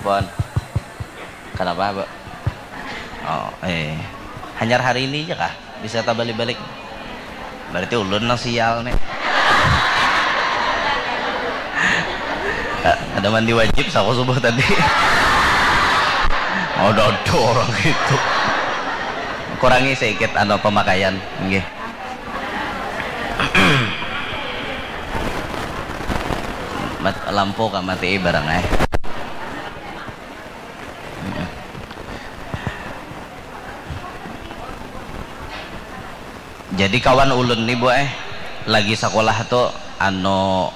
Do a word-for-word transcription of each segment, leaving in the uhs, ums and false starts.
Pon. Kenapa, Bu? Oh, eh. Hanyar hari ini aja kah? Bisa tabalik-balik. Berarti ulun nang sial nih. Ada mandi wajib saku subuh tadi. Ada ada orang gitu. Kurangi sedikit anu pemakaian, nggih. Mat, lampu ka mati barang eh. Jadi kawan ulun nih bu eh, lagi sekolah tuh anu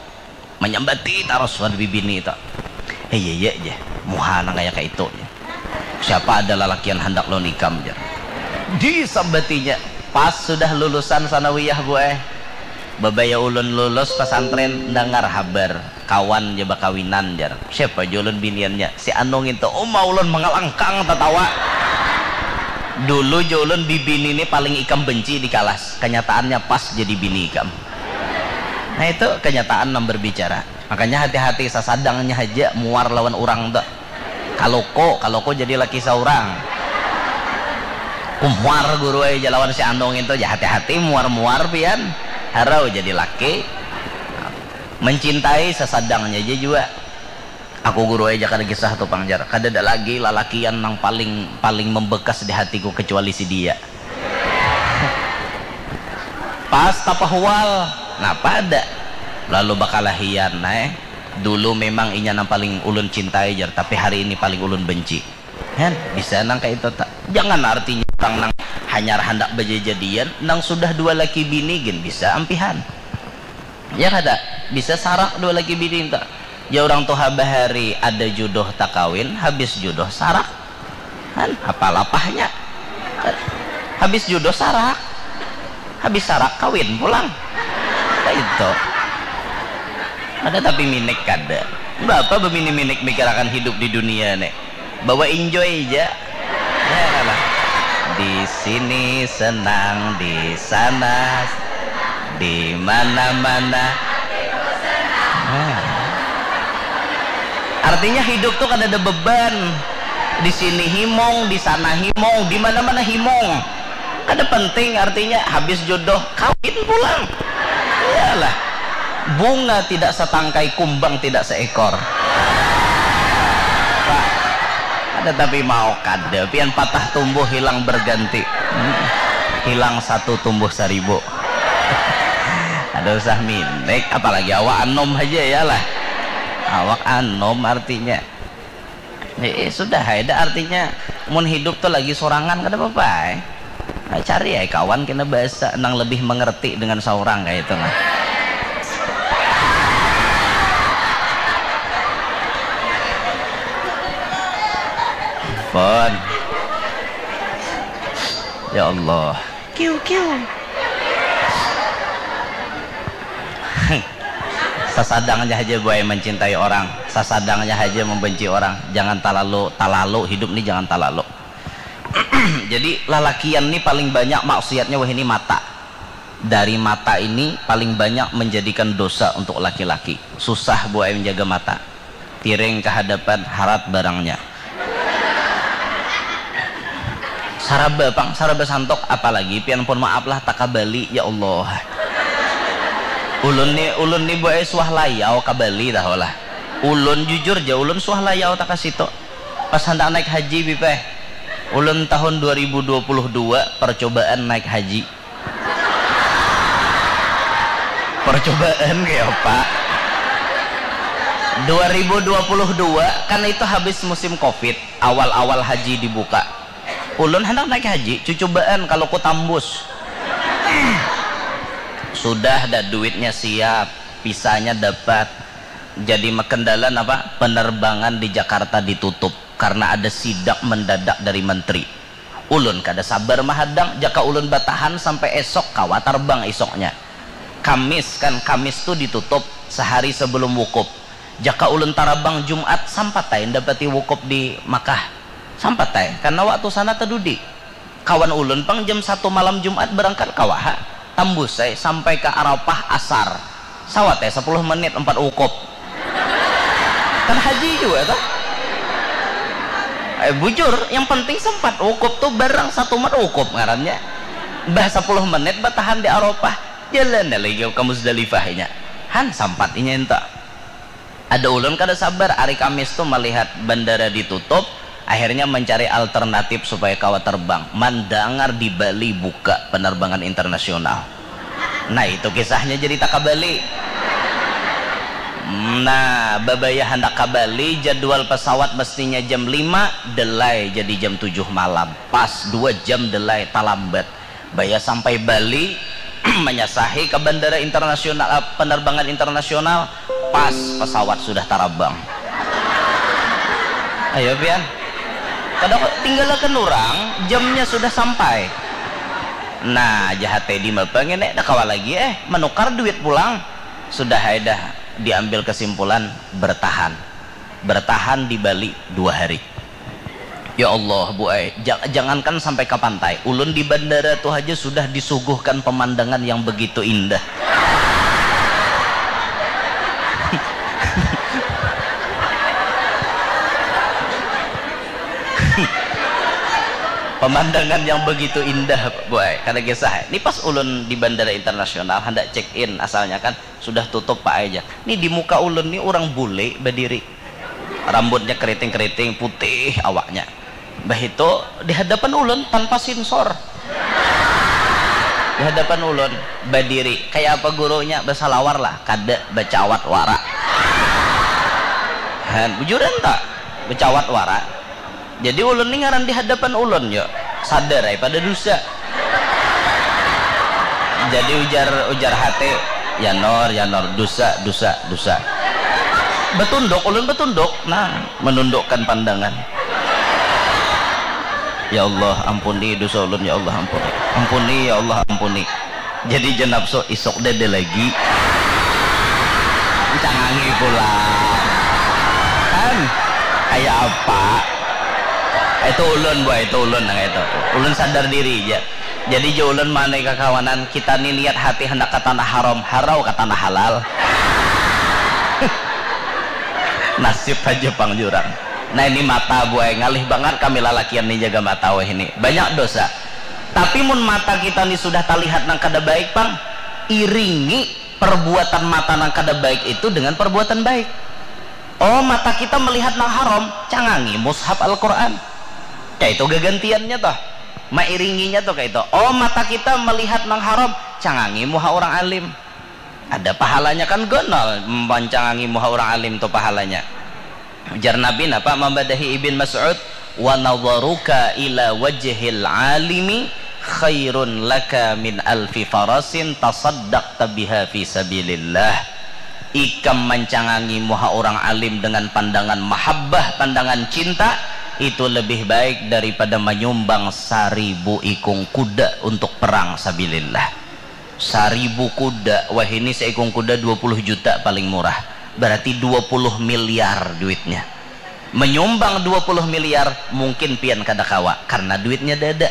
menyambati taros wan bibini itu. Hei iya iya aja, muha nang kayak itu. Siapa ada lalakian hendak lawan ikam jar. Disambatinya pas sudah lulusan sanawiyah bu eh. Babaya ulun lulus pesantren dengar habar kawan ja bakawinan jar. Siapa ja ulun biniannya? Si Anu ngintu. Uma ulun mengelengkang tatawa. Dulu ja ulun bibini ni paling ikam benci di kalas. Kenyataannya pas jadi bini ikam. Nah itu kenyataan nang berbicara. Makanya hati-hati sasadangnya haja muar lawan urang tuh. Kaluku, kaluku jadi laki saurang. Kumuar guru ai ja lawan si Anu ngintu ja hati-hati muar-muar pian. Harau jadi laki. Mencintai sasadangnya aja jua. Aku guru ai ja kada kisah tu pang jar. Kadada lagi lalakian nang paling paling membekas di hatiku kecuali si dia. Pas tapahual, napa ada? Lalu bakalahian ai. Dulu memang inya nang paling ulun cintai jar, tapi hari ini paling ulun benci. Hen, bisa nang kaya itu ta? Jangan artinya urang nang hanyar handak bajajadian, nang sudah dua laki bini gin bisa ampihan. Ya kada? Bisa sarak dua laki bini ta? Ya urang tuha bahari ada juduh takawin, habis juduh sarak. Kan apa lapahnya? Habis juduh sarak. Habis sarak kawin pulang. Kaitu. Ada tapi minik kada. Bapa bamini-minik mikirakan hidup di dunia nih. Bawa enjoy ja. Ya lah. Di sini senang, di sana, di mana-mana. Nah. Artinya hidup tuh kada ada beban. Di sini himung, di sana himung, di mana-mana himung. Kada penting artinya habis jodoh kawin pulang. Iyalah. Bunga tidak setangkai, kumbang tidak seekor. Pak, ada tapi mau kada pian patah tumbuh hilang berganti. Hmm. Hilang satu tumbuh seribu. Ada usah minik, apalagi awak anom aja ya lah. Awak anom artinya. Eh, eh, sudah ai dah artinya mun hidup tuh lagi sorangan kada apa-apa ai. Nah, cari ai kawan kena bahasa nang lebih mengerti dengan seorang kayak itu nah. Pon. Ya Allah. Kiu kiu. Sasadangnya haja buai mencintai orang, sasadangnya haja membenci orang. Jangan talalu, talalu hidup ni jangan talalu. Jadi lalakian ni paling banyak maksiatnya wahini mata. Dari mata ini paling banyak menjadikan dosa untuk laki-laki. Susah buai menjaga mata. Tiring ke hadapan harat barangnya. Saraba pang, saraba santok, apalagi pian pun maaf lah takabali ya Allah. Ulun ni, ulun ni buai suah layau kabali tahu lah. Ulun jujur ja ulun suah layau takasitu. Pas handak naik haji bipeh. Ulun tahun dua ribu dua puluh dua percobaan naik haji. Percobaan kayak apa? Dua ribu dua puluh dua kan itu habis musim covid, awal-awal haji dibuka. Ulun handak naik haji, cucubaan kalau ku tambus. Sudah dah duitnya siap, visanya dapat. Jadi makendala apa? Penerbangan di Jakarta ditutup karena ada sidak mendadak dari menteri. Ulun kada sabar mahadang, jaka ulun batahan sampai esok kawa tarbang isoknya. Kamis kan, Kamis tu ditutup sahari sebelum wukuf. Jaka ulun tarabang Jumat sampat ai ndapati wukuf di Makkah. Sampat ai, karna waktu sana tadudi. Kawan ulun pang jam satu malam Jumat berangkat kawa ha. Tambus ai sampai ka Arafah asar. Sawat ai sapuluh menit umpat wukuf. Kan haji jua kah? Eh, bujur, yang penting sempat. Wukuf tu barang satu mat wukuf ngarannya. Bah, sepuluh menit batahan di Arafah, jalan lagi ke Muzdalifah inya. Han, sampat inya enta. Ada ulun kada sabar, hari Kamis tu melihat bandara ditutup, akhirnya mencari alternatif supaya kawa terbang. Mandangar di Bali buka penerbangan internasional. Nah, itu kisahnya jadi tak ka Bali. Nah, babaya handak ka Bali, jadwal pesawat mestinya jam lima, delay jadi jam tujuh malam. Pas dua jam delay, talambat. Baya sampai Bali, menyasahi ke bandara internasional, eh, penerbangan internasional, pas pesawat sudah tarabang. Ayo, pian. Kada, tinggalkan orang, jamnya sudah sampai. Nah, jahat Teddy mah, pengen, eh, dah kawa lagi, eh, menukar duit pulang. Sudah, eh, dah diambil kesimpulan, bertahan. Bertahan di Bali dua hari. Ya Allah, Bu ai, ja-, jangankan sampai ke pantai, ulun di bandara tu haja sudah disuguhkan pemandangan yang begitu indah. Pemandangan yang begitu indah, Bu ai, kada kisah. Ini pas ulun di bandara internasional, hendak check in, asalnya kan sudah tutup, Pak ai, jar. Ini di muka ulun ni orang bule badiri. Rambutnya keriting-keriting, putih awaknya. Bah itu, di hadapan ulun tanpa sinsor. Di hadapan ulun, badiri. Kayak apa gurunya? Basalawar lah, kada, bacawat wara. Han, bujuran tak? Bacawat wara. Jadi ulun ni ngaran di hadapan ulun, yo. Sadar ai pada dusa. Jadi ujar, ujar hati, "Ya Nor, ya Nor, dusa, dusa, dusa." Betunduk, ulun betunduk. Nah, menundukkan pandangan. "Ya Allah, ampuni dosa ulun, ya Allah, ampuni. Ampuni, ya Allah, ampuni." Jadi jenapso, "Isuk dada lagi." Cangangi pulang. Kan? Kayak apa? Itu ulun, Bu ai, itu ulun nang itu. Ulun sadar diri aja. Jadi, ja ulun manai kakawanan, kita ni niat hati handak ka tanah haram, harau ka tanah halal. Nasib haja pang jurang. Nah, ini mata, Bu ai, ngalih bangat kami lalakian ni jaga mata wahini. Banyak dosa. Tapi mun mata kita ni sudah talihat nang kada baik pang, iringi perbuatan mata nang kada baik itu dengan perbuatan baik. Oh, mata kita melihat nang haram, cangangi mushaf Al-Quran. Kayak itu gagantiannya toh. Mairinginya tuh kayak itu. Oh, mata kita melihat nang haram, cangangi muha orang alim. Ada pahalanya kan, gonol mancangangi muha orang alim tuh pahalanya. Ujar Nabi napa mambadahi Ibn Mas'ud, "Wa nadharuka ila wajhil alimi khairun laka min alfi farasin tasaddaqta biha fi sabilillah." Ikam mancangangi muha orang alim dengan pandangan mahabbah, pandangan cinta, itu lebih baik daripada manyumbang saribu ikung kuda untuk perang sabilillah. Saribu kuda, wahini seikung kuda dua puluh juta paling murah. Berarti dua puluh miliar duitnya. Menyumbang dua puluh miliar, mungkin pian kada kawa karena duitnya dada.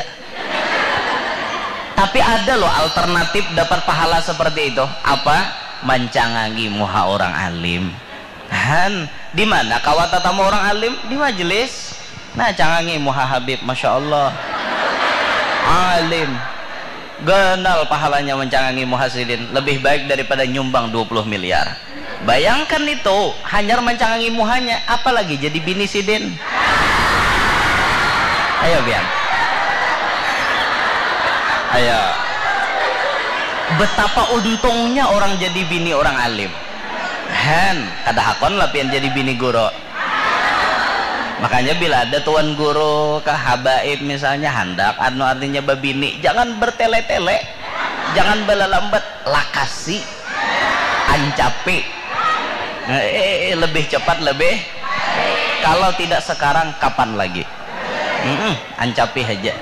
Tapi ada loh alternatif dapat pahala seperti itu. Apa? Mancangangi muha orang alim. Han, di mana kawa tatamu orang alim? Di majelis. Nah, cangangi muha Habib, masya Allah. Alim. Ganal pahalanya mancangangi muha sidin, lebih baik daripada nyumbang dua puluh miliar. Bayangkan itu, hanyar mancangangi muhanya, apalagi jadi bini sidin. Ayo, biang. Ayo. Betapa untungnya orang jadi bini orang alim. Han, kada hakon lah pian jadi bini guru. Makanya bila ada tuan guru kah, habaib misalnya, handak, anu, artinya babini, jangan bertele-tele, jangan balalambat, lakasi, ancapi. Eh, eh, eh, lebih cepat, lebih. Kalau tidak sekarang, kapan lagi? Mm-mm, ancapi aja.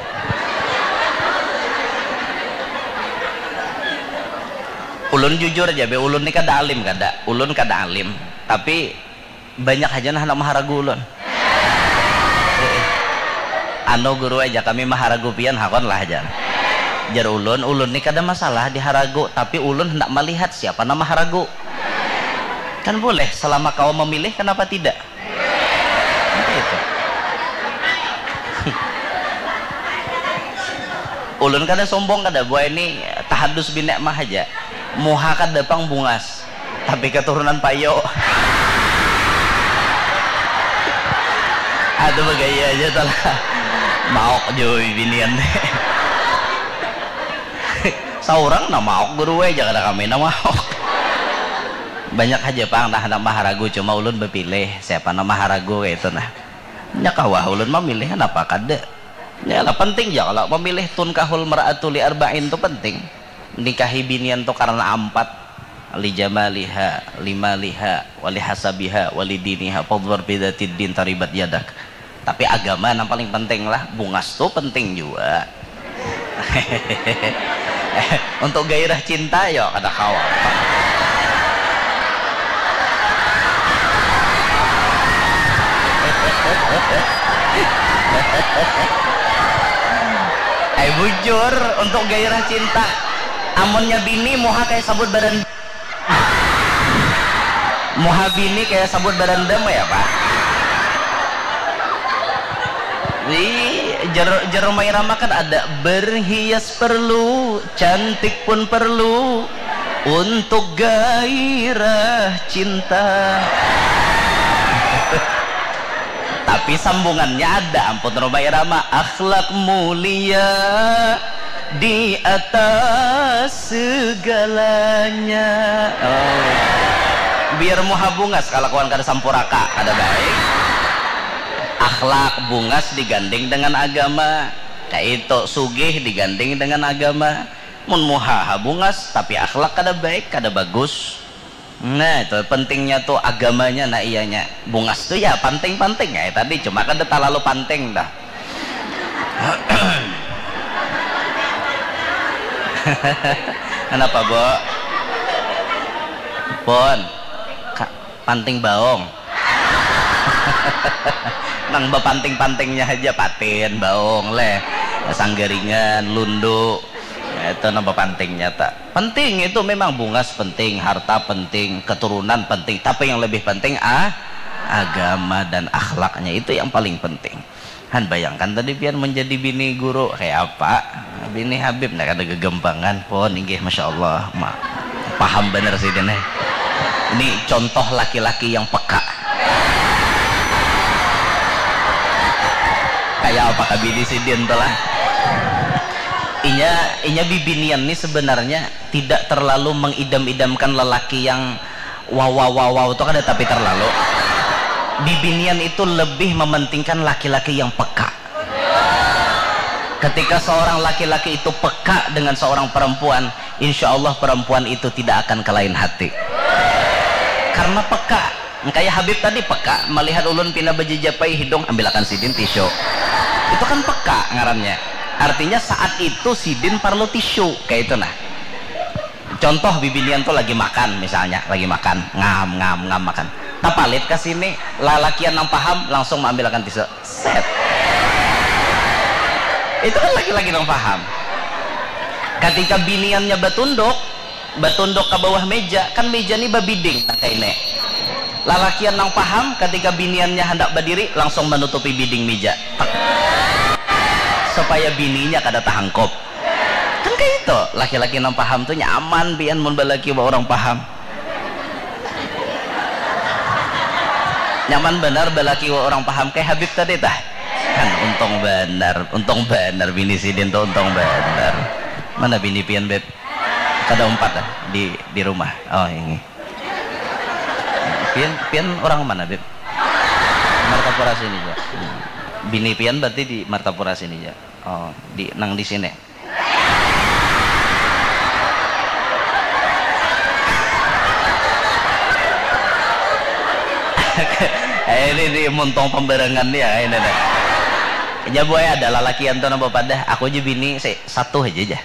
Ulun jujur aja be, ulun ni kada alim kada, ulun kada alim, tapi banyak haja nah handak maharagu ulun. Anu guru aja, kami maharagu pian hakon lah jar. Jar ulun, ulun ni kada masalah diharagu, tapi ulun handak malihat siapa nang maharagu. Kan boleh, selama kawa memilih, kenapa tidak? Itu. Ulun kada sombong kada buai ni, tahadus binikmah haja. Muha kada pang bungas, tapi katurunan payo. Aduh bagaya aja tu lah. Maok jua bibinian. Saurang nah maok guru ai, jar kada kami nah maok. Banyak haja pang nah handak maharagu, cuma ulun bapilih siapa nah maharagu kaitu nah. Nya kawah ulun mamilih, napa kada. Nya lah, penting ja kalo mamilih, tunkahul mar'atu li arba'in tu penting. Nikahi binian tu karna ampat, li jamaliha, li maliha, wa li hasabiha, wa li diniha, fadhfar bi dzatiddin taribat yadak. Tapi agama nang paling penting lah, bungas tu penting jua. Untuk gairah cinta, yo kada kawa. Ai bujur, untuk gairah cinta, amunnya bini muha kaya sabut badan, muha bini kaya sabut barandam ya, Pak. Di jar, jar Rhoma Irama kan ada, berhias perlu, cantik pun perlu untuk gairah cinta. Tapi sambungannya ada, ampun Rhoma Irama, akhlak mulia di atas segalanya. Oh. Biar muha bungas kalakuan kada sampuraka, kada baik. Akhlak bungas diganding dengan agama. Kaitu, sugih diganding dengan agama. Mun muha ha bungas, tapi akhlak kada baik, kada bagus. Nah, itu pentingnya tu agamanya, nah iyanya. Bungas tu ya panting-panting ai tadi, cuma kada talalu panting dah. Kenapa, Bo? Pon. Ka-, panting baong. Nang bapanting-pantingnya haja, patin, baong, leh. Sanggaringan, lundu. Itu nang bapantingnya, tak. Penting itu memang, bungas penting, harta penting, keturunan penting, tapi yang lebih penting, ah, agama dan akhlaknya, itu yang paling penting. Han, bayangkan tadi pian menjadi bini guru, kayak apa? Bini Habib, nah, kada gegempangan pun, inggih, masya Allah, ma-, paham bener sidin, eh. Ini contoh laki-laki yang peka. Kayak apa kah bini sidin tuh lah? Inya, inya bibinian nih sebenarnya tidak terlalu mengidam-idamkan lelaki yang wow, wow, wow, wow, itu kada, tapi terlalu. Bibinian itu lebih mementingkan laki-laki yang peka. Ketika seorang laki-laki itu peka dengan seorang perempuan, insya Allah perempuan itu tidak akan kelain hati. Karena peka. Kaya Habib tadi peka, melihat ulun pina bajajapai hidung, ambilakan sidin tisu. Itu kan peka ngarannya. Artinya saat itu sidin parlu tisu, kayak itu nah. Contoh, bibinian tu lagi makan misalnya, lagi makan, ngam, ngam, ngam makan. Tapalit ka sini, lalakian nang paham langsung maambilakan tisu. Set. Itu kan laki-laki nang paham. Ketika biniannya batunduk, batunduk ka bawah meja, kan meja ni babiding nang kaini. Lalakian nang paham, ketika biniannya handak badiri, langsung manutupi biding meja. Tek. Supaya bininya kada tahangkup. Kan kaya itu, laki-laki nang paham tu nyaman pian mun balaki wa urang paham. Nyaman banar balaki wa urang paham, kaya Habib tadi tah. Kan untung banar, untung banar bini sidin tu, untung banar. Mana bini pian, Beb? Kada umpat dah di, di rumah. Oh, ini. Pian, pian urang mana, Beb? Martapura sini ja. Bini pian berarti di Martapura sini ja. Oh, di, nang di sini. Eh, ini di muntung pembarangan ya, ini dah. Nya buai ada lalakian tu nang bapadah, aku ja bini si-, satu haja ja.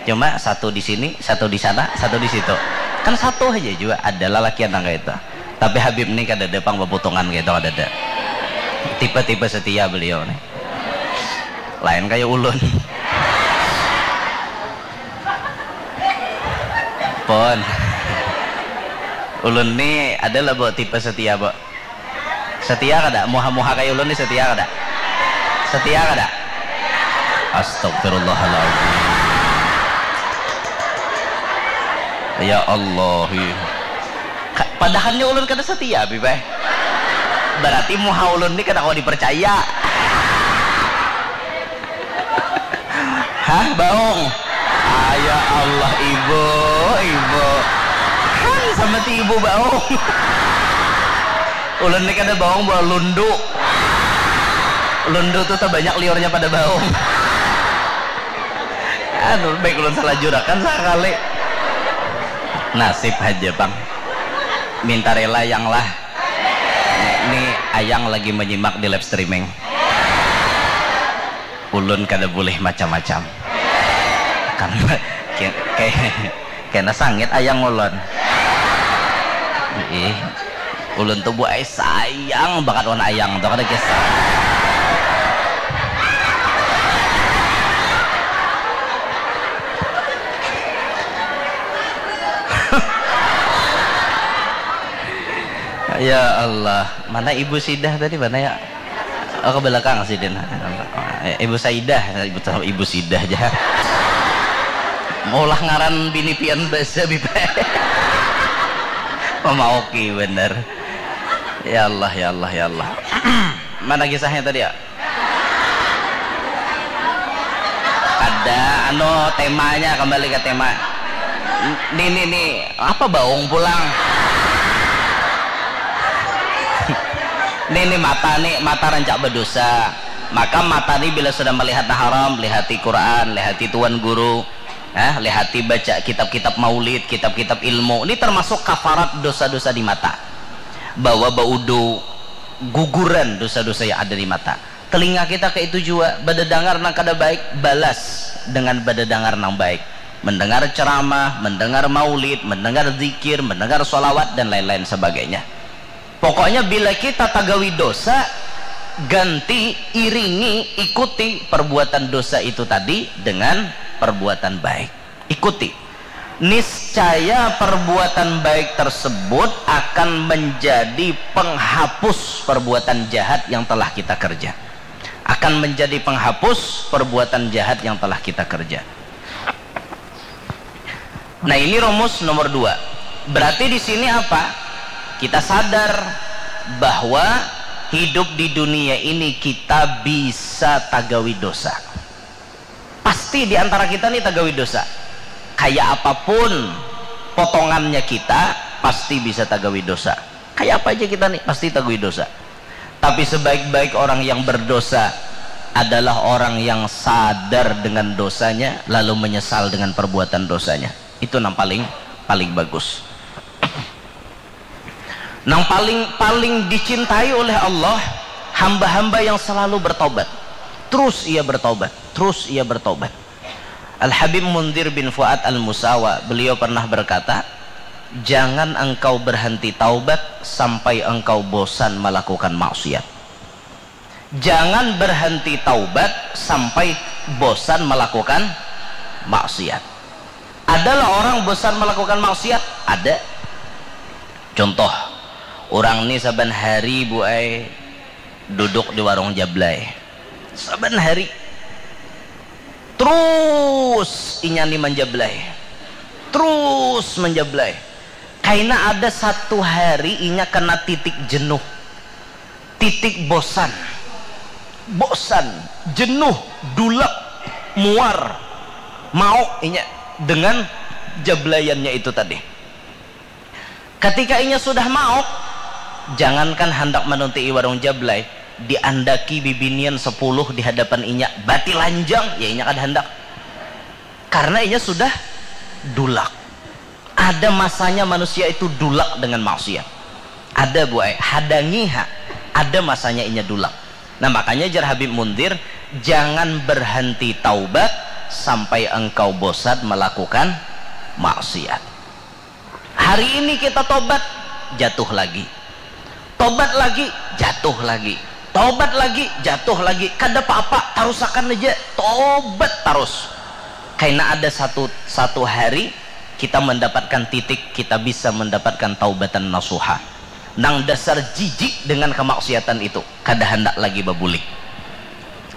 Cuma satu di sini, satu di sana, satu di situ. Kan satu haja jua, ada lalakian nang kaya itu. Tapi Habib ni kadada pang baputungan kaya itu, kadada. Tipe-tipe setia beliau ni. Lain kaya ulun. Pon. Ulun ni ada lah, Bo, tipe setia, Bo. Setia kada? Muha-muha kaya ulun ni setia kada? Setia kada? Astagfirullahaladzim. Ya Allah. Padahalnya ulun kada setia, Bibeh. Berarti muha ulun ni kada kawa dipercaya. Hah, baung? Ah, ya Allah, ibu, ibu. Hai, sama ti ibu baung. Ulun ni kada baung, bawa lundu. Lundu tu terbanyak liurnya pada baung. Anu, baik ulun salah jurakan sakali. Nasib haja pang. Minta rela yang lah. Ni ayang lagi menyimak di live streaming. Ulun kada boleh macam-macam. Karena kayak kena sangit ayang ulun. Ih, ulun tuh buai sayang banget wan ayang tuh kada kisah. Ya Allah, mana ibu sidah tadi, mana ya? Oh, ke belakang sidin. Ibu Saidah, ibu ibu sidah aja. Maulah ngaran bini pian basa bipa. Mama oke bener. Ya Allah, ya Allah, ya Allah. Mana kisahnya tadi ya? Ada anu temanya, kembali ke tema. Nih nih nih, apa baung pulang? Nih nih mata nih, mata rancak berdosa. Maka mata nih bila sudah melihat haram, lihati Quran, lihati tuan guru, eh, lihati baca kitab-kitab maulid, kitab-kitab ilmu. Ini termasuk kafarat dosa-dosa di mata. Bawa baudu, guguran dosa-dosa yang ada di mata. Telinga kita kayak itu juga, badadangar nang kada baik, balas dengan badadangar nang baik. Mendengar ceramah, mendengar maulid, mendengar zikir, mendengar sholawat, dan lain-lain sebagainya. Pokoknya bila kita tagawi dosa, ganti, iringi, ikuti perbuatan dosa itu tadi dengan perbuatan baik. Ikuti. Niscaya perbuatan baik tersebut akan menjadi penghapus perbuatan jahat yang telah kita kerja. Akan menjadi penghapus perbuatan jahat yang telah kita kerja. Nah, ini rumus nomor dua. Berarti di sini apa? Kita sadar bahwa hidup di dunia ini kita bisa tagawi dosa. Pasti di antara kita nih tagawi dosa. Kayak apapun potongannya kita, pasti bisa tagawi dosa. Kayak apa aja kita nih, pasti tagawi dosa. Tapi sebaik-baik orang yang berdosa adalah orang yang sadar dengan dosanya, lalu menyesal dengan perbuatan dosanya. Itu nang paling paling bagus. Nang paling paling dicintai oleh Allah, hamba-hamba yang selalu bertobat. Terus ia bertobat, terus ia bertobat. Al-Habib Munzir bin Fuad Al-Musawa, beliau pernah berkata, "Jangan engkau berhenti taubat sampai engkau bosan melakukan maksiat." Jangan berhenti taubat sampai bosan melakukan maksiat. Adalah orang bosan melakukan maksiat? Ada. Contoh, orang ni saban hari, Bu ai, duduk di warung jablay. Saban hari. Terus inya ni manjablay. Terus manjablay. Kaina ada satu hari inya kena titik jenuh. Titik bosan. Bosan, jenuh, dulak, muar, mauk inya dengan jablayannya itu tadi. Ketika inya sudah mauk, jangankan handak manuntii warung jablay, diandaki bibinian sepuluh di hadapan inya, batilanjang, ya inya kada handak. Karena inya sudah dulak. Ada masanya manusia itu dulak dengan maksiat. Ada, Bu ai, hadangi ha. Ada masanya inya dulak. Nah, makanya jar Habib Munzir, "Jangan berhenti taubat sampai engkau bosan melakukan maksiat." Hari ini kita tobat, jatuh lagi. Tobat lagi, jatuh lagi. Tobat lagi, jatuh lagi. Kada apa-apa, tarusakan aja. Tobat terus. Kaina ada satu satu hari kita mendapatkan titik, kita bisa mendapatkan taubatan nasuha. Nang dasar jijik dengan kemaksiatan itu, kada handak lagi babulik.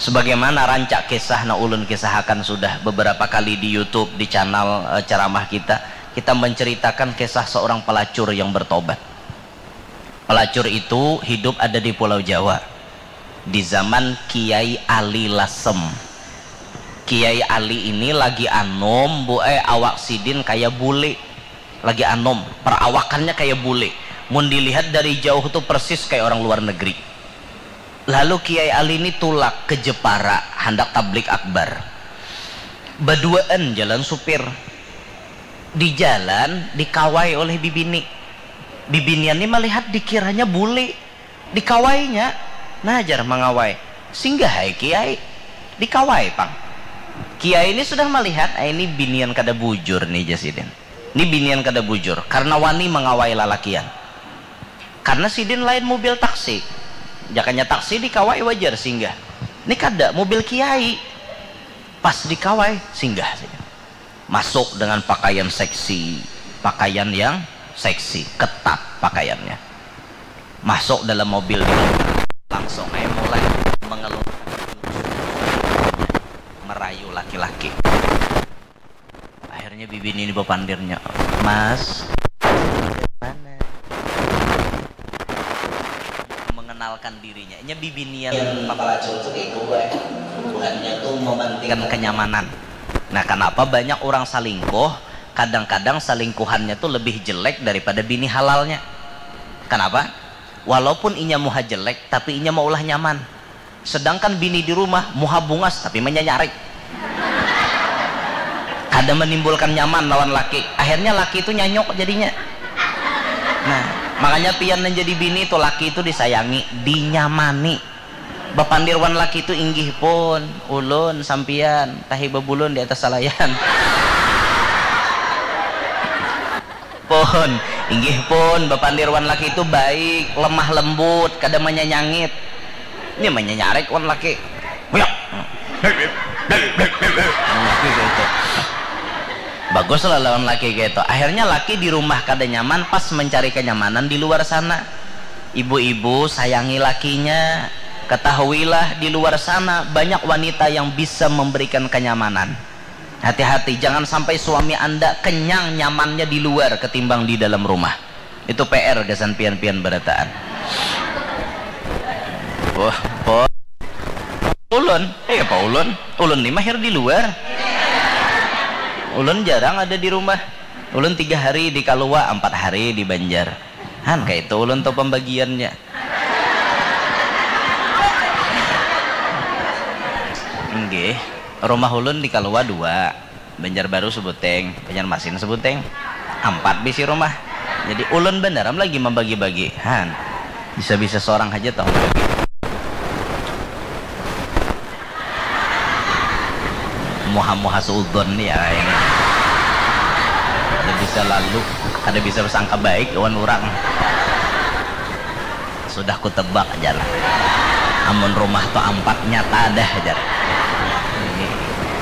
Sebagaimana rancak kisah nang ulun kisahakan sudah beberapa kali di YouTube, di channel, eh, ceramah kita. Kita menceritakan kisah seorang pelacur yang bertobat. Pelacur itu hidup ada di Pulau Jawa di zaman Kiai Ali Lasem. Kiai Ali ini lagi anom, bu eh, awak sidin kaya bule. Lagi anom, perawakannya kaya bule. Mun dilihat dari jauh tuh persis kayak orang luar negeri. Lalu Kiai Ali ini tulak ke Jepara, handak tablik akbar. Baduaan jalan supir. Di jalan dikawai oleh bibini. Bibinian ni melihat dikiranya bule. Dikawainya. Nah, jar mangawai. Singgah hai Kiai. Dikawai pang. Kiai ini sudah melihat, ah, ini binian kada bujur nih, jar sidin. Ini binian kada bujur karena wani mangawai lalakian. Karena sidin lain mobil taksi. Jakanya taksi dikawai wajar singgah. Ini kada, mobil Kiai. Pas dikawai, singgah sidin. Masuk dengan pakaian seksi, pakaian yang seksi, ketat pakaiannya. Masuk dalam mobil dia, langsung aja mulai mengeluarkan merayu laki-laki. Akhirnya bibini ini bapandirnya, "Mas, dari mana?" Mengenalkan dirinya. Nya bibinian pelacur tuh kayak itu, buhannya tuh mementingkan kenyamanan. Nah, kenapa banyak orang salingkuh? Kadang-kadang salingkuhannya tuh lebih jelek daripada bini halalnya. Kenapa? Walaupun inya muha jelek, tapi inya maulah nyaman. Sedangkan bini di rumah muha bungas tapi manyanyarik. Kada menimbulkan nyaman lawan laki. Akhirnya laki itu nyanyok jadinya. Nah, makanya pian yang jadi bini itu, laki itu disayangi, dinyamani. Bapandir wan laki itu, "Inggih pun, ulun sampian tahi babulun di atas salayan." Pun, inggih pun, bapandir wan laki itu baik, lemah lembut, kada manyanyangit. Ini manyanyarik wan laki. Huyak. Bagus lah lawan laki gitu. Akhirnya laki di rumah kada nyaman, pas mencari kenyamanan di luar sana. Ibu-ibu, sayangi lakinya. Ketahuilah, di luar sana banyak wanita yang bisa memberikan kenyamanan. Hati-hati, jangan sampai suami Anda kenyang nyamannya di luar ketimbang di dalam rumah. Itu P R gasan pian-pian barataan. Wah, po. Ulun, eh apa ulun? Ulun ni mahir di luar. Ulun jarang ada di rumah. Ulun tiga hari di Kalua, empat hari di Banjar. Han, kayak itu ulun tuh pembagiannya. Nggih, rumah ulun di Kalua dua, Banjarbaru sebuting, Banjarmasin sebuting, ampat bisi rumah. Jadi ulun banar am lagi mambagi-bagi, han, bisa-bisa sorang haja tahu bagi. Muha-muha suudon ya ini. Kada bisa lalu, kada bisa bersangka baik lawan urang. Sudah kutebak aja lah. Amun rumah tu ampat nyata dah aja. Ini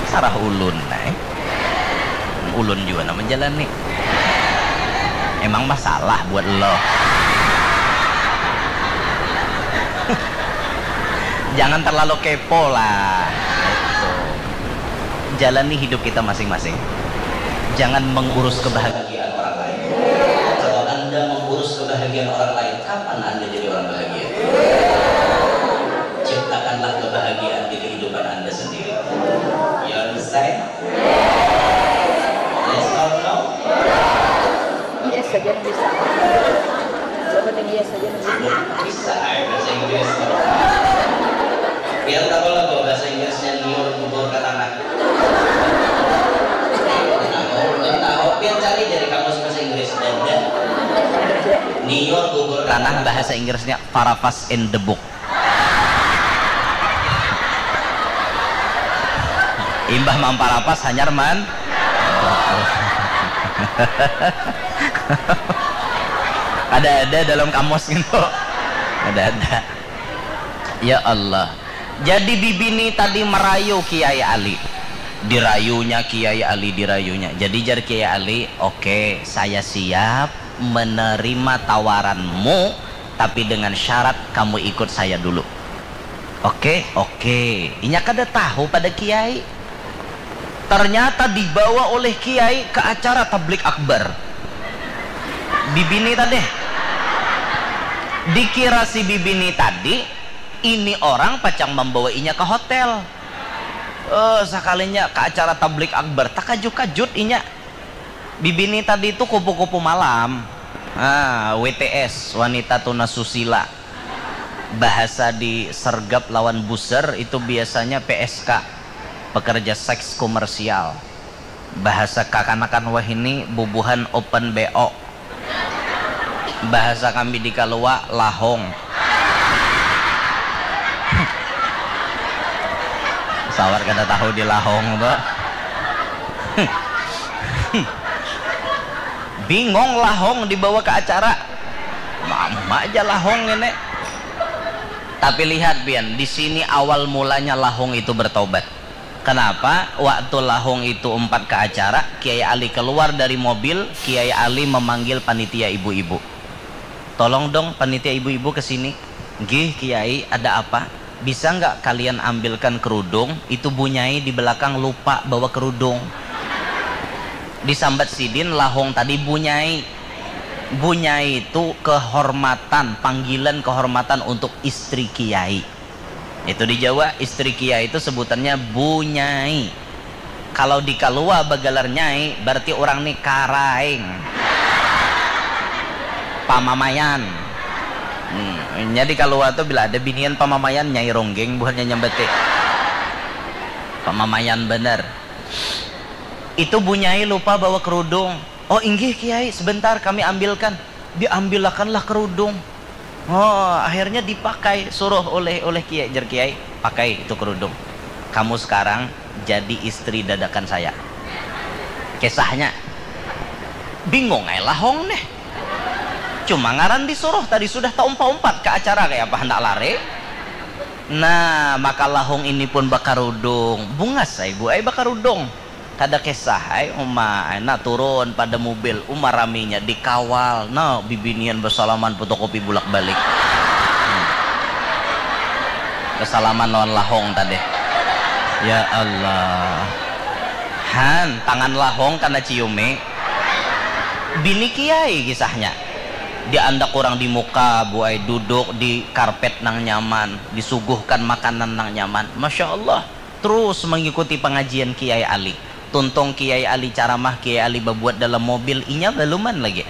sarah ulun nah. Ulun jua nang menjalani. Emang masalah buat lo. Jangan terlalu kepo lah. Itu. Jalani hidup kita masing-masing. Jangan mengurus kebahagiaan orang lain. Kalau Anda mengurus kebahagiaan orang lain, kapan Anda jadi orang bahagia? Ciptakanlah kebahagiaan di kehidupan Anda sendiri. You understand? Yes or no? Yes saja bisa. Coba nih, yes saja bisa. Bisa, eh, bahasa Inggris. Biar tahu lah bahwa bahasa Inggrisnya liur kubur ke tanah. Tahu, belum tahu. Biar cari dari kamus bahasa Inggris. Dada. Liur kubur ke tanah, bahasa Inggrisnya parapas in the book. Imbah mamparapas hanyar man. Ada-ada dalam kamus gitu. Ada-ada. Ya Allah. Jadi bibini tadi merayu Kiai Ali. Dirayunya Kiai Ali, dirayunya. Jadi jar Kiai Ali, "Oke, saya siap menerima tawaranmu, tapi dengan syarat kamu ikut saya dulu." Oke, oke. Inya kada tahu pada kiai. Ternyata dibawa oleh kiai ke acara tablik akbar. Bibini tadi. Dikira si bibini tadi, ini orang pacang membawa inya ke hotel. Eh, sekalinya ke acara tablik akbar, takajut-kajut inya. Bibini tadi itu kupu-kupu malam. Ah, W T S, wanita tunas susila. Bahasa di sergap lawan buser itu biasanya P S K, pekerja seks komersial. Bahasa kakanakan wahini bubuhan open B O. Bahasa kami di Kalua, lahong. Sawat kada tahu di lahong tu. Bingung lahong dibawa ke acara. Mama aja lahong ini. Tapi lihat pian, di sini awal mulanya lahong itu bertobat. Kenapa? Waktu lahong itu umpat ke acara, Kiai Ali keluar dari mobil, Kiai Ali memanggil panitia ibu-ibu. Tolong dong panitia ibu-ibu ke sini. Gih Kiai, ada apa? Bisa nggak kalian ambilkan kerudung? Itu bunyai di belakang lupa bawa kerudung. Disambat sidin lahong tadi bunyai. Bunyai itu kehormatan, panggilan kehormatan untuk istri kiai. Itu di Jawa, istri kiai itu sebutannya bunyai. Kalau di Kalua bagalar nyai, berarti orang ni karaing. Pamamayan. Hmm, jadi Kalua tu bila ada binian pamamayan, nyai ronggeng buhannya nyambati. Pamamayan bener. Itu bunyai lupa bawa kerudung. Oh inggih kiai, sebentar kami ambilkan. Diambilakanlah kerudung. Oh, akhirnya dipakai, suruh oleh oleh kiai, jer kiai, pakai itu kerudung. Kamu sekarang jadi istri dadakan saya. Kisahnya bingung ai lahong nih. Cuma ngaran disuruh tadi sudah taumpat-umpat ke acara kayak apa hendak lari. Nah, maka lahong ini pun bakarudung. Bungas ai bu ai bakarudung. Kada kisah ai uma ai nah turun pada mubil, uma raminya dikawal nah bibinian basalaman fotokopi bulak balik. Hmm. Basalaman lawan lahong tadi. Ya Allah. Han, tangan lahong kana ciumi. Bini kiai kisahnya. Diandak urang di muka, buai duduk di karpet nang nyaman, disuguhkan makanan nang nyaman. Masya Allah. Trus mangikuti pangajian Kiai Ali. Tuntung Kiai Ali caramah, Kiai Ali babuat dalam mobil, inya baluman lagi.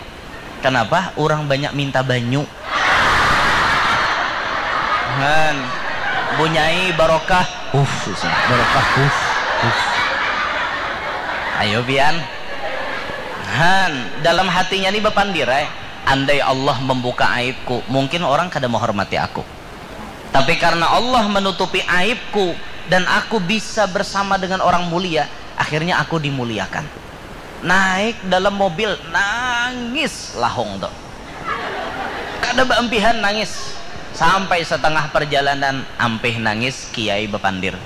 Kanapa? Urang banyak minta banyu. Han, bunyai barokah. Uff, barokah. Uff, uff. Ayo pian. Han, dalam hatinya ni bapandir ai. Andai Allah membuka aibku, mungkin orang kada menghormati aku. Tapi karena Allah menutupi aibku dan aku bisa bersama dengan orang mulia, akhirnya aku dimuliakan. Naik dalam mobil, nangis lahong tu. Kada baampihan nangis. Sampai setengah perjalanan, ampih nangis, kiai bapandir.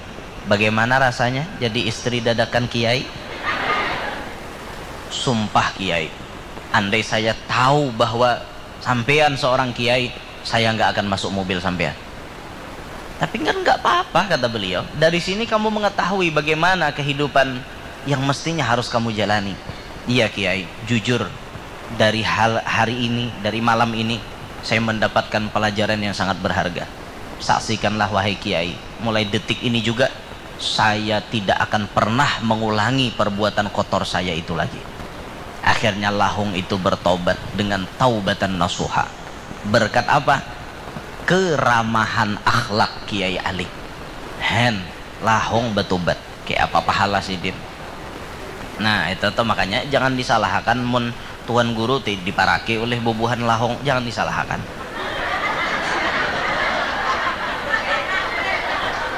Bagaimana rasanya jadi istri dadakan kiai? Sumpah kiai, andai saya tahu bahwa sampean seorang kiai, saya nggak akan masuk mobil sampean. Tapi kan nggak apa-apa, kata beliau. Dari sini kamu mengetahui bagaimana kehidupan yang mestinya harus kamu jalani. Iya, Kiai, jujur, dari hal hari ini, dari malam ini, saya mendapatkan pelajaran yang sangat berharga. Saksikanlah, wahai Kiai, mulai detik ini juga, saya tidak akan pernah mengulangi perbuatan kotor saya itu lagi. Akhirnya lahung itu bertobat dengan taubatan nasuha. Berkat apa? Keramahan akhlak Kiai Ali. Hen, lahung batubat. Kaya apa pahala sidin. Nah, itu tuh makanya jangan disalahakan mun tuan guru ti diparaki ulih bubuhan lahung, jangan disalahakan.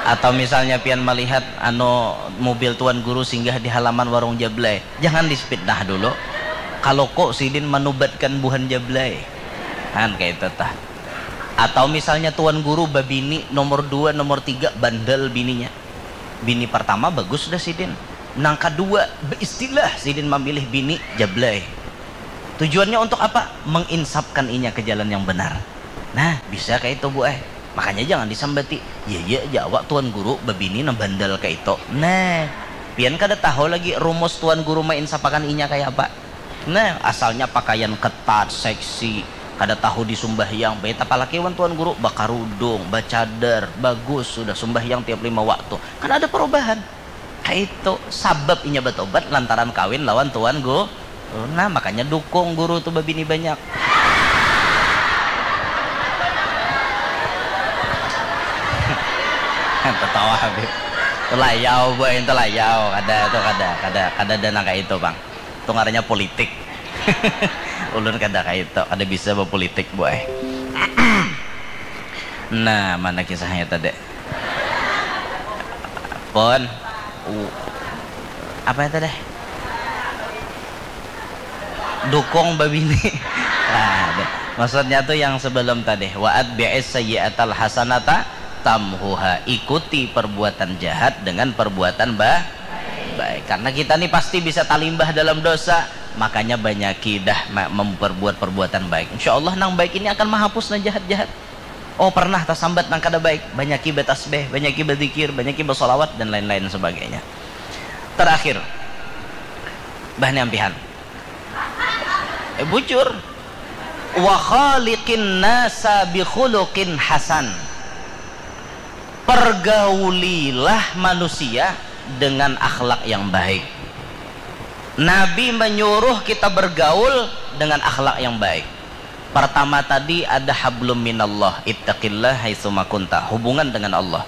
Atau misalnya pian malihat anu mobil tuan guru singgah di halaman warung Jablay, jangan dipitnah dulu. Kaluku sidin manubatkan buhan Jablay. Han kaitu tah. Atau misalnya tuan guru babini nomor dua, nomor tiga, bandel bininya. Bini pertama bagus dah sidin. Nang kadua baistilah sidin mamilih bini Jablay. Tujuannya untuk apa? Menginsapkan inya ke jalan yang benar. Nah, bisa kaitu bu ai. Makanya jangan disambati, ya ya ja awak tuan guru babini nang bandel kaitu. Nah, Pian kada tahu lagi rumus tuan guru mainsapakan inya kaya apa. Nah, asalnya pakaian ketat, seksi, kada tahu di sumbahyang, bait apalagi wan tuan guru bakarudung, bacadar, bagus sudah sumbahyang tiap lima waktu. Kan ada perubahan. Kaitu sabab inya batobat lantaran kawin lawan tuan guru. Nah, makanya dukung guru tu babini banyak. Tatawa Habib. Telayau boy, telayau. Kada tu, kada, kada, kada ada nang kaitu pang. Tu ngarannya politik. Ulun kada kaitu, kada bisa bapolitik boy. Nah, mana kisahnya tadi? Pon. U-, apa itu deh? Dukung babini. Nah, deh. Maksudnya tuh yang sebelum tadi, wa atbi'is sayyi'atal hasanata tamhuha, ikuti perbuatan jahat dengan perbuatan ba-, baik. Karena kita nih pasti bisa talimbah dalam dosa, makanya banyaki dah ma-, memperbuat perbuatan baik. Insya Allah nang baik ini akan menghapus nang jahat-jahat. Oh, pernah tasambat nang kada baik, banyaki batasbih, banyaki bazikir, banyaki basolawat, dan lain-lain sebagainya. Terakhir, bah ni ampihan. Eh, bujur. Wa khaliqin nasa bi khuluqin hasan. Pergaulilah manusia dengan akhlak yang baik. Nabi menyuruh kita bergaul dengan akhlak yang baik. Pertama tadi ada hablum minallah, ittaqillah haitsuma kunta, hubungan dengan Allah.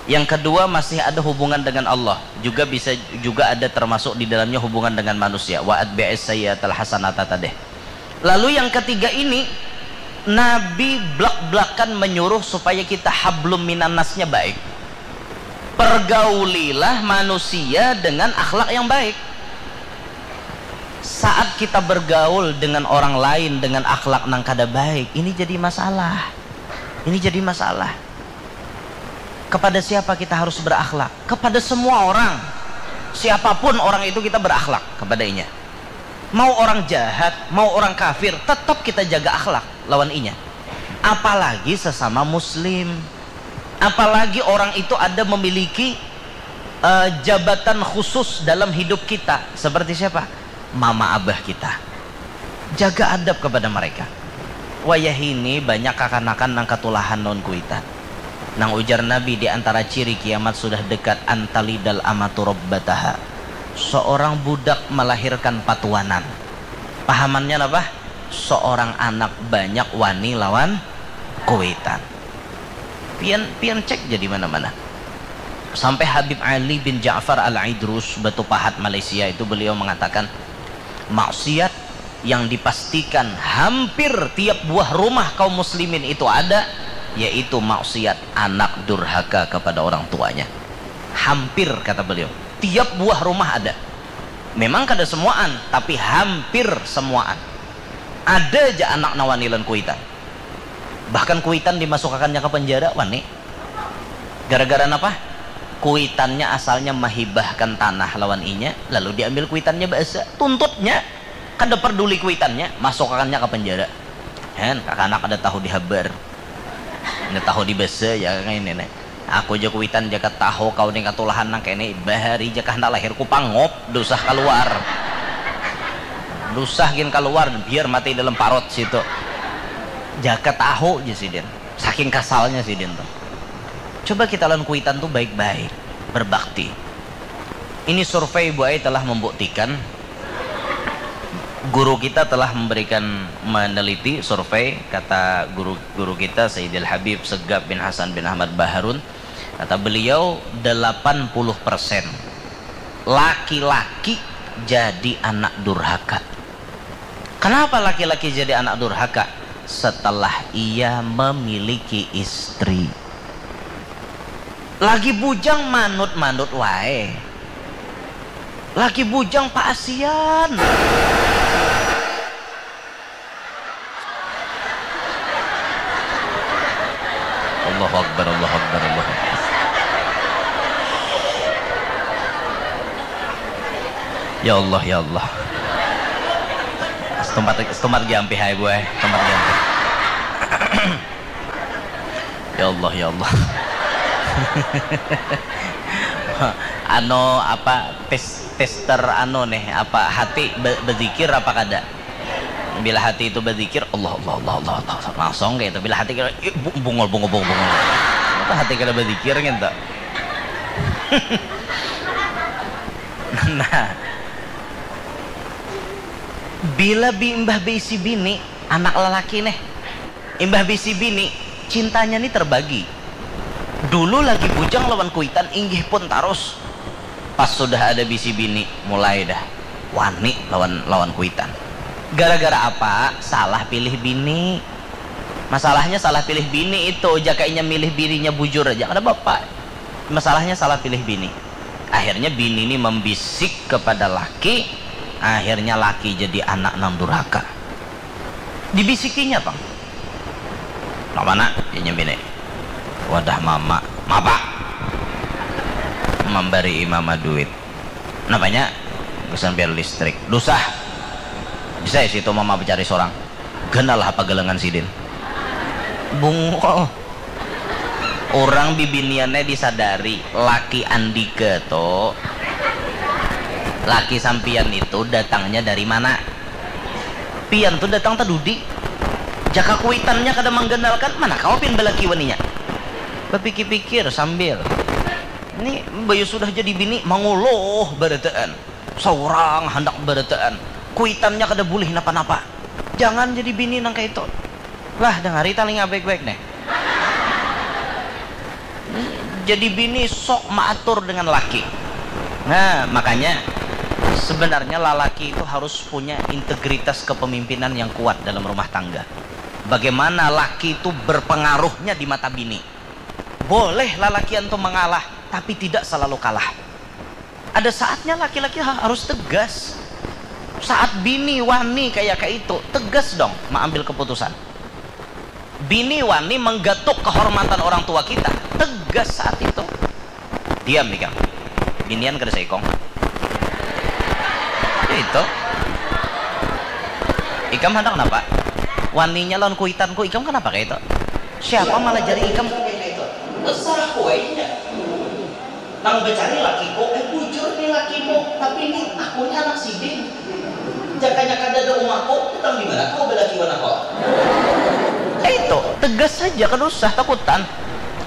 Yang kedua masih ada hubungan dengan Allah, juga bisa juga ada termasuk di dalamnya hubungan dengan manusia. Wa atbi'is sayyi'atal hasanata tadeh. Lalu yang ketiga ini, Nabi blak-blakan menyuruh supaya kita hablum minannasnya baik. Pergaulilah manusia dengan akhlak yang baik. Saat kita bergaul dengan orang lain dengan akhlak nang kada baik, ini jadi masalah. Ini jadi masalah. Kepada siapa kita harus berakhlak? Kepada semua orang. Siapapun orang itu kita berakhlak kepadanya. Mau orang jahat, mau orang kafir, tetap kita jaga akhlak lawan inya. Apalagi sesama muslim. Apalagi orang itu ada memiliki, eh, jabatan khusus dalam hidup kita. Seperti siapa? Mama abah kita. Jaga adab kepada mereka. Wayahini banyak kakanakan nang katulahan lawan kuitan. Nang ujar Nabi di antara ciri kiamat sudah dekat, antalidal amatu rabbataha. Seorang budak melahirkan patuanan. Pahamannya apa? Seorang anak banyak wani lawan kuitan. Pian, pian cek jadi mana-mana. Sampai Habib Ali bin Ja'far Al-Idrus, Batu Pahat, Malaysia itu, beliau mengatakan, maksiat yang dipastikan hampir tiap buah rumah kaum muslimin itu ada, yaitu maksiat anak durhaka kepada orang tuanya. Hampir, kata beliau, tiap buah rumah ada. Memang kada semuaan, tapi hampir semuaan. Ada aja anak nawani lan kuitan. Bahkan kuitan dimasukakannya ke penjara, wani. Gara-gara napa? Kuitannya asalnya mahibahkan tanah lawan inya, lalu diambil kuitannya baasa. Tuntutnya, kada perduli kuitannya, masukakannya ke penjara. Hen, kakanak ada tahu di habar. Ada tahu di basa, ya, kayak ini, nih. Aku ja kuitan jaka tahu kau nih katulahan nang kene, bahari jaka handak lahir ku pangop, dusah kaluar. Dusah gin kaluar, biar mati dalam parut situ. Jaka tahu ja sidin. Saking kasalnya sidin tuh. Coba kita lawan kuitan tuh baik-baik, berbakti. Ini survei, Bu Ai, telah membuktikan, guru kita telah memberikan, meneliti survei, kata guru, guru kita Sayyidil Habib Segaf bin Hasan bin Ahmad Baharun, kata beliau, delapan puluh persen laki-laki jadi anak durhaka. Kenapa laki-laki jadi anak durhaka? Setelah ia memiliki istri. Lagi bujang manut-manut wae. Lagi bujang paasian. Allahu Akbar, Allahu Akbar, Allahu Akbar. Ya Allah, ya Allah. Setempat, setempat lagi ampih, hai, Bu, eh. Setempat lagi ampih. Ya Allah, ya Allah. Anu apa, tes tester anu nih, apa hati be- berzikir apa kada? Bila hati itu berzikir, Allah Allah Allah Allah Allah, langsung kayak itu. Bila hati kira, "Ih, bu- bungul bungul bungul bungul," apa hati kada berzikir gitu. Nah, bila bi- imbah beisi bini, anak lelaki nih, imbah beisi bini, cintanya nih terbagi. Dulu lagi bujang lawan kuitan, inggih pun tarus. Pas sudah ada bisi bini, mulai dah wani lawan lawan kuitan. Gara-gara apa? Salah pilih bini. Masalahnya salah pilih bini itu, jaka inya milih bininya bujur aja kada bapa. Masalahnya salah pilih bini. Akhirnya bini ni membisik kepada laki, akhirnya laki jadi anak nang durhaka. Dibisikinya pang. Nang mana? Inya bini. Wadah mama. Mapa? Mambari mama duit. Napanya? Gasan bayar listrik. Dusah. Bisa ya situ mama bacari sorang. Ganal apa galangan sidin. Bungul. Orang bibiniannya disadari, laki andika tu, laki sampian itu datangnya dari mana? Pian tu datang tadudi. Jaka kuitannya kada mangganalkan, mana kawa pian balaki waninya? Bapikir-pikir sambil, ini bayu sudah jadi bini manguluh barataan, saurang handak barataan, kuitannya kada bulih napa-napa. Jangan jadi bini nang kaitu. Lah, dangari talinga baik-baik nih. Jadi bini sok maatur dengan laki. Nah, makanya sebenarnya lalaki itu harus punya integritas kepemimpinan yang kuat dalam rumah tangga. Bagaimana laki itu berpengaruhnya di mata bini. Boleh lalakian tuh mengalah, tapi tidak selalu kalah. Ada saatnya laki-laki ha- harus tegas. Saat bini wani kayak kayak itu, tegas dong mengambil keputusan. Bini wani menggatuk kehormatan orang tua kita, tegas saat itu. Diam ikam. Binian kada saikong. Itu. Ikam hendak kenapa? Waninya lawan kuitanku, ikam kenapa kayak itu? Siapa malah jari ikam? Terserah kuainya. Nang bacari lakiku, eh bujur nih lakimu, tapi nih aku nih anak sidin. Jakanya kada ada umahku, utang di mana kau balaki wan aku? Eh, itu tegas saja, kada usah takutan.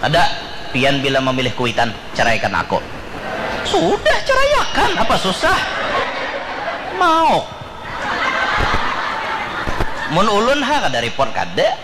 Ada, pian bila memilih kuitan, ceraikan aku. Sudah, ceraiakan, apa susah? Mau. Mun ulun ha kada report kada.